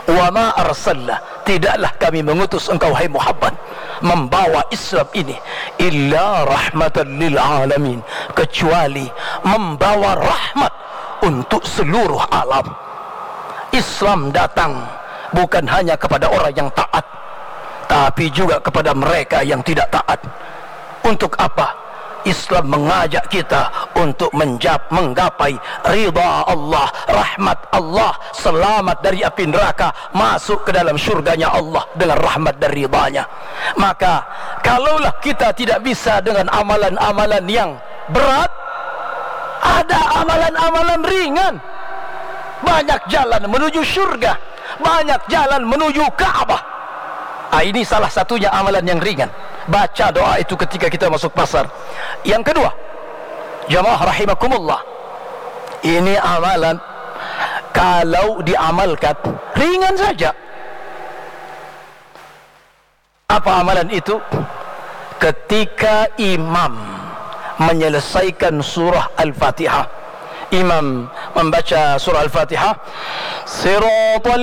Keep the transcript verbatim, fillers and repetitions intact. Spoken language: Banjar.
"Wa ma arsalna, tidaklah kami mengutus engkau, hai Muhammad, membawa Islam ini, illa rahmatan lil alamin, kecuali membawa rahmat untuk seluruh alam." Islam datang bukan hanya kepada orang yang taat, tapi juga kepada mereka yang tidak taat. Untuk apa? Islam mengajak kita untuk menjap-, menggapai ridha Allah, rahmat Allah, selamat dari api neraka, masuk ke dalam surganya Allah dengan rahmat dan ridhanya. Maka, kalaulah kita tidak bisa dengan amalan-amalan yang berat, ada amalan-amalan ringan. Banyak jalan menuju surga, banyak jalan menuju Ka'bah. Ah, ini salah satunya amalan yang ringan. Baca doa itu ketika kita masuk pasar. Yang kedua, jamaah rahimakumullah, ini amalan kalau diamalkan ringan saja. Apa amalan itu? Ketika imam menyelesaikan surah Al-Fatihah, imam membaca surah Al-Fatihah, siratal